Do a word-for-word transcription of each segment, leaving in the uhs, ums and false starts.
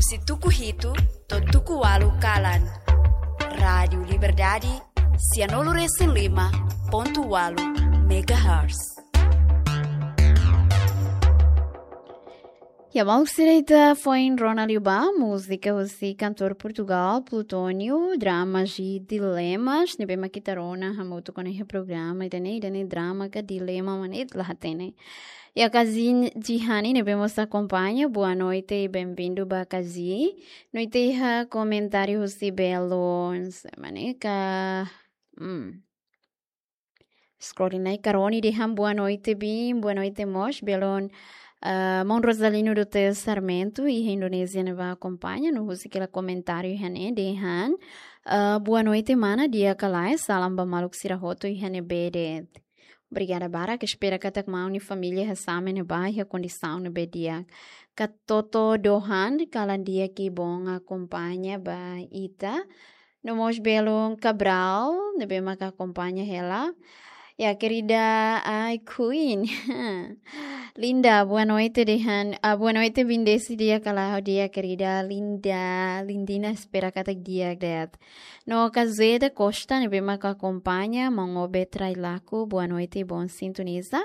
Husi tuku hitu to'o tuku ualu kalan. Rádiu Liberdade, sianulu resin lima pontu ualu megahertz. Ya, maluk sira, ita foin rona liu ba múzika husi kantór Portugal, Plutónio, Dramas e Dilemas, ne'ebé mak ita rona hamutuk ona iha programa ida-ne'e, ida-ne'e drama ka dilema mak ne'e la hatene. Ya, Kazi Jihani ne'ebé mós akompaña, boa noite e bem-vindo ba Kazi. No ita iha komentáriu husi belun, se mane ka, hmm. Scroll nai, Karoni dehan boa noite, Bim, boa noite mós, belun, ah, maun Rosalino do Teu Sarmento, iha Indonézia ne'ebá akompaña, no husik hela komentáriu iha ne'e dehan, ah, boa noite, mana, di'ak ka lae, salam ba maluk sira hotu iha ne'ebé de'it. Obrigada barak, espera katak maun nia família hanesan ne'ebá iha kondisaun ne'ebé di'ak. Katoto Dohan, kalan di'ak, kibon akompaña ba ita. No mós belun Cabral, ne'ebé mak akompaña hela. Ya, querida, ai, Queen. Linda, boa noite, dehan. Ah, boa noite, Bim, di'ak ka lae, di'ak, querida. Linda, Lindina, espera katak di'ak de'it. No Kazeda Costa, ne'ebé mak akompaña, maun Obe Trailaku, boa noite, bom sintoniza.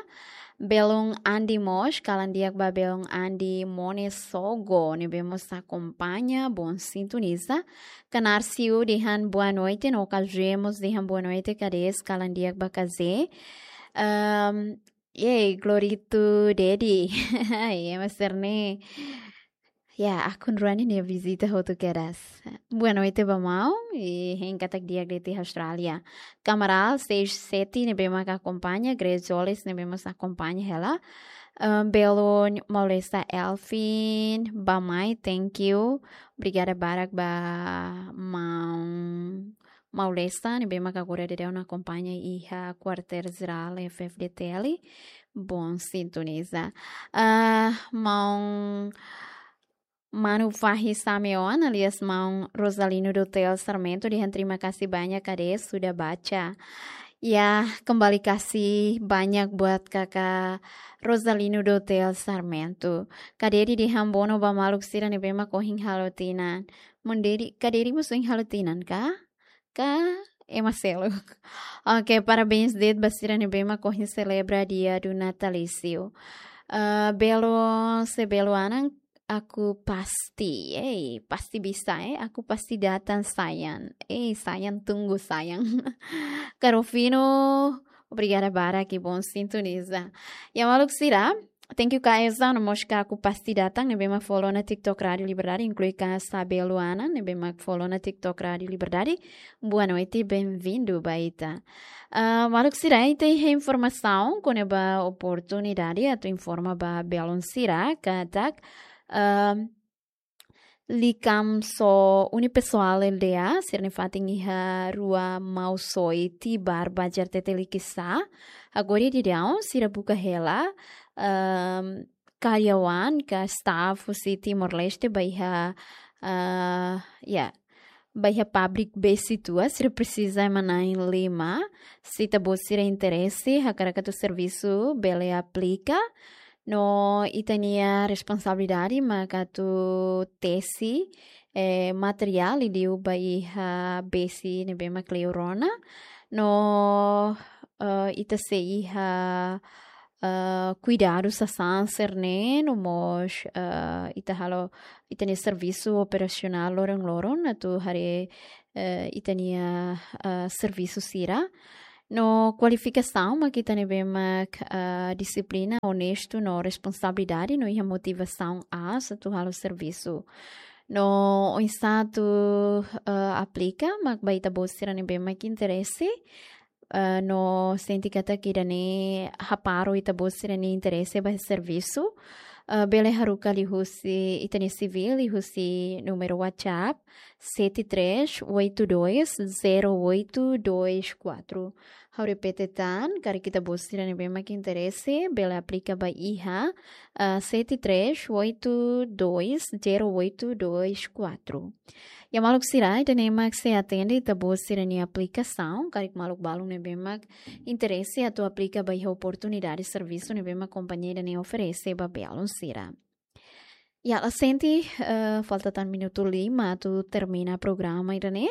Belun Andi mós, kalan di'ak ba belun Andi Mone Sogo, ne'ebé mós akompaña, bom sintoniza. Kanarsiu dehan boa noite, no Kazé mós dehan boa noite, Kades, kalan di'ak ba Kazé. Ehm, yey, Glorito Dedi. Yey, master ne. Ya, akun rua ne'e nia vizita hotu kedas. Boa noite ba maun, i hein katak di'ak de'it iha Austrália. Kamaral seis sete ne'ebé mak akompaña, Grace Jolis ne'ebé mós akompaña hela. Ehm, belun Maulesa Elfin, ba mai, thank you. Obrigada barak ba maun Maulesa, ne'ebé mak agora daudaun akompaña iha Kuartél Jerál F F D T L. Bom sintoniza. Ah, maun Manu Fahi Sameon, alias maun Rosalino do Teu Sarmento, dehan terima kasih banyak, Kades, sudah baca. Ya, kembali kasih banyak buat kakak Rosalino do Teu Sarmento. Kades dehan bono ba maluk sira ne'ebé mak ohin halo tinan. Maun Dedi, Kades mós ohin halo tinan ka? Ka ema seluk. Oke, parabéns de'it ba sira ne'ebé mak ohin selebra dia do natalício. Ah, belun, se belun anan, aku pasti, eh, pasti bisa, eh, aku pasti datang, sayang. Eh, sayang, tunggu, sayang. Karofino, obrigada barak, kibon sintoniza. Ya, maluk sira, thank you, Kaesa, no mós ka aku pasti datang, ne'ebé mak follow ona TikTok Rádiu Liberdade, inklui Kasa Beluana, ne'ebé mak follow ona TikTok Rádiu Liberdade. Boa noite, bem-vindo ba ita. Ah, maluk sira, ita iha informasaun kona-ba oportunidade atu informa ba belun sira katak, ah, Likamso Unipessoal L D A, sira-nia fatin iha Rua Mausoi, Tibar, Bajar Teteli, Quiçá. Agora daudaun, sira buka hela, ehm, karyawan ka staff husi Timor-Leste ba iha, eh, ya, ba iha pabrik besi tua, sira presiza ema na'in lima. Se ita-boot sira interese, hakarak atu servisu, bele aplika. No ita-nia responsabilidade mak atu tesi, eh, materiál liuliu ba iha besi ne'ebé mak kleur ona. No, eh, ita sei iha, eh, kuidadu sasán sira-ne'e, no mós, eh, ita halo ita-nia servisu operasionál loron-loron atu haree, eh, ita-nia, eh, servisu sira. No kualifikasaun mak ita ne'ebé mak, ah, dixiplina, onestu no responsabilidade no iha motivasaun aas atu halo servisu. No oinsá atu, ah, aplika, mak ba ita-boot sira ne'ebé mak interese, ah, no sente katak ida-ne'e hapara ita-boot sira-nia interese ba servisu, ah, bele haruka liuhusi ita-nia sivíl, liuhusi númeru WhatsApp, sete três oito dois zero oito dois quatro. Ha'u repete tan, karik ita-boot sira ne'ebé mak interese, bele aplika ba iha, ah, sete três oito dois zero oito dois quatro. Ya maluk sira, ida-ne'e mak sei atende ita-boot sira-nia aplikasaun, karik maluk balun ne'ebé mak interese atu aplika ba iha oportunidade servisu ne'ebé mak kompañia ida-ne'e oferese ba belun sira. Ya, la sente, eh, falta tan minutu lima atu termina programa ida-ne'e.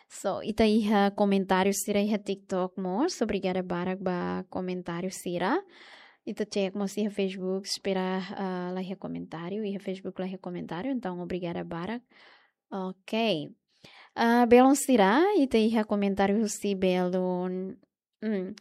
So, ita iha komentáriu sira iha TikTok mós. Obrigada barak ba komentáriu sira. Ita cek mós iha Facebook, espera, eh, la iha komentáriu, iha Facebook la iha komentáriu, entaun obrigada barak. Ok. Ah, belun sira, ita iha komentáriu husi belun. Hmm.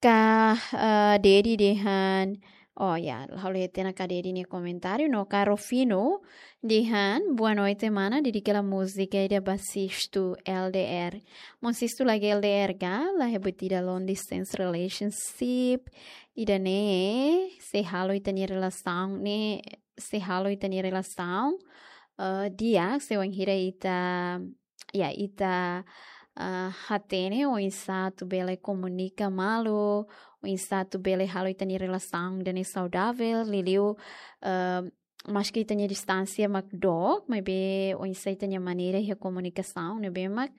Ka, ah, Dedi dehan, oh ya, ha'u lee tiha ona Ka Dedi nia komentáriu, no Ka Rufino dehan, boa noite, mana, dedika hela múzika ida ba Sistu L D R. Maun Sistu lagi L D R ka, la iha buat ida long distance relationship. Ida-ne'e, sei halo ita-nia relasaun ne'e, sei halo ita-nia relasaun, eh, di'ak, se wainhira ita, ya, ita, eh, hatene oinsá atu bele komunika malu, oinsá atu bele halo ita-nia relasaun ida-ne'e saudavel, liuliu, eh, maski ita-nia distánsia mak dook, maibé oinsá ita-nia maneira iha komunikasaun ne'ebé mak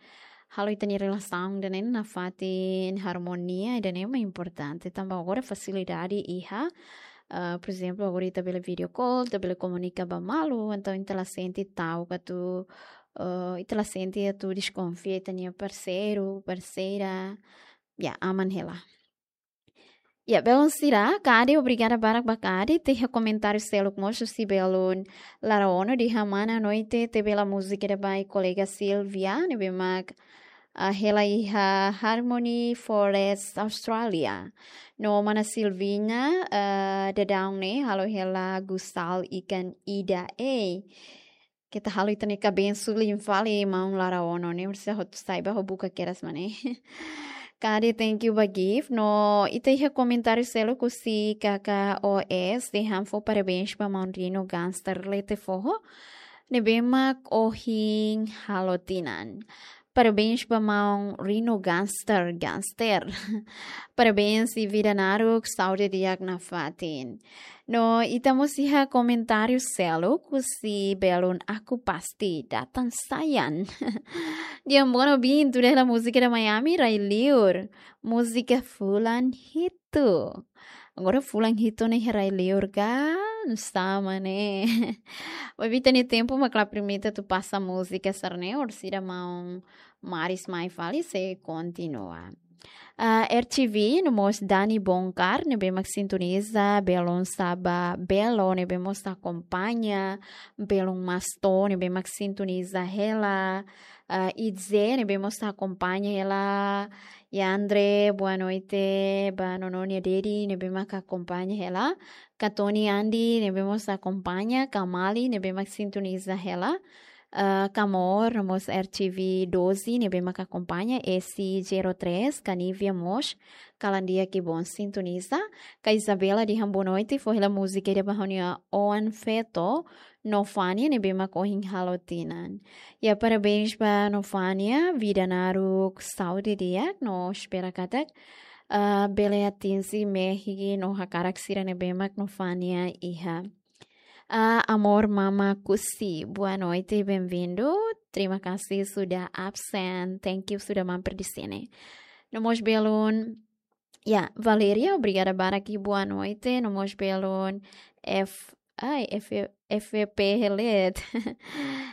halo ita-nia relasaun ida-ne'e nafatin harmonia, ida-ne'e mak importante. Tanba agora fasilidade iha, ah, por ezemplu, agora ita bele video call, ita bele komunika ba malu, entaun ita la sente ta'uk atu, ah, ita la sente atu deskonfia ita-nia parseiru, parseira, ya, aman hela. Ya, belun sira, Ka Dedi, obrigada barak ba Ka Dedi, ita iha komentáriu seluk mós husi belun Lara Ono dehan mana, noite, tebe hela múzika ida ba kolega Silvia, ne'ebé mak, ah, hela iha Harmony Forest, Australia. No mana Silvina, ah, daudaun ne'e, halo hela gusal ikan ida, ei. Keta halo ita-nia kabensu liu fali maun Lara Ono ne'e, orsida hotu sai ba ho buka kedas mak ne'e. Ka Dedi, thank you ba gift. No ita iha komentáriu seluk husi K K O S dehan fó parabéns ba maun Rino Gangster Lete Foho ne'ebé mak ohin halo tinan. Parabéns ba maun Rino Gangster, Gangster. Parabéns i vida naruk, saúde di'ak nafatin. No ita mós iha komentáriu seluk husi belun Aku Pasti Datang Sayang. Dehan bono bin, tuda hela múzika ida Miami, Rai Liur. Múzika fulan hitu. Agora fulan hitu ne'e iha Rai Liur ka, nu'usá mak ne'e. Maibé ita-nia tempu mak la permite atu pasa múzika sira-ne'e, orsida maun Maris mai fali sei kontinua. Ah, R T V, no mós Dani Bonkar, ne'ebé mak sintoniza, belun Saba, Belo, ne'ebé mós akompaña, belun Masto, ne'ebé mak sintoniza hela, ah, Idze, ne'ebé mós akompaña hela, Yandre, boa noite, ba nono nia Dedi, ne'ebé mak akompaña hela, Katoni Andi, ne'ebé mós akompaña, Kamali, ne'ebé mak sintoniza hela, ah, Kamor, no mós R T V doze, ne'ebé mak akompaña, S zero três, Kanivia mós, kalan di'ak i bon sintoniza, Ka Isabela dehan boa noite, fó hela múzika ida ba ha'u-nia oan feto, Nofania, ne'ebé mak ohin halo tinan. Ya, parabéns ba Nofania, vida naruk, saúde di'ak, no espera katak, ah, bele atinje mehi no hakarak sira ne'ebé mak Nofania iha. Ah, Amor Mama Kusi, boa noite, bem-vindo. Terima kasih sudah absen. Thank you sudah mampir di sini. No mós belun, ya, Valeria, obrigada barak i boa noite. No mós belun F, ai, F, F P Helet.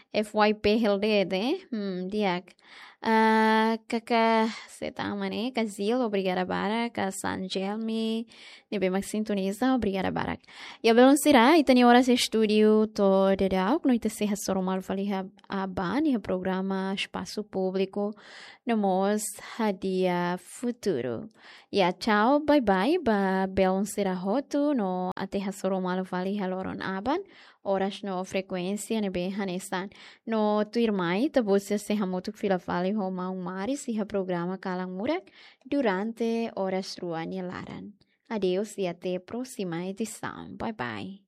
F Y P Helet, eh? Hmm, di'ak. Ah, Kaka Setang mak ne'e, Kazil, obrigada barak, Ka Sanjelmi, ne'ebé mak sintoniza, obrigada barak. Ya, belun sira, ita-nia oras estúdiu to'o daudauk, no ita sei hasoru malu fali iha aban, iha programa Espasu Públiku, no mós Hadiah Futuru. Ya, tchau, bye bye, ba belun sira hotu, no até hasoru malu fali iha loron aban, oras no frekuénsia ne'ebé hanesan. No tuirmai, ita-boot sei hamutuk fila fali ho maun Maris iha programa Kalan Murak durante oras rua nia laran. Adeus e até próxima edição. Bye bye.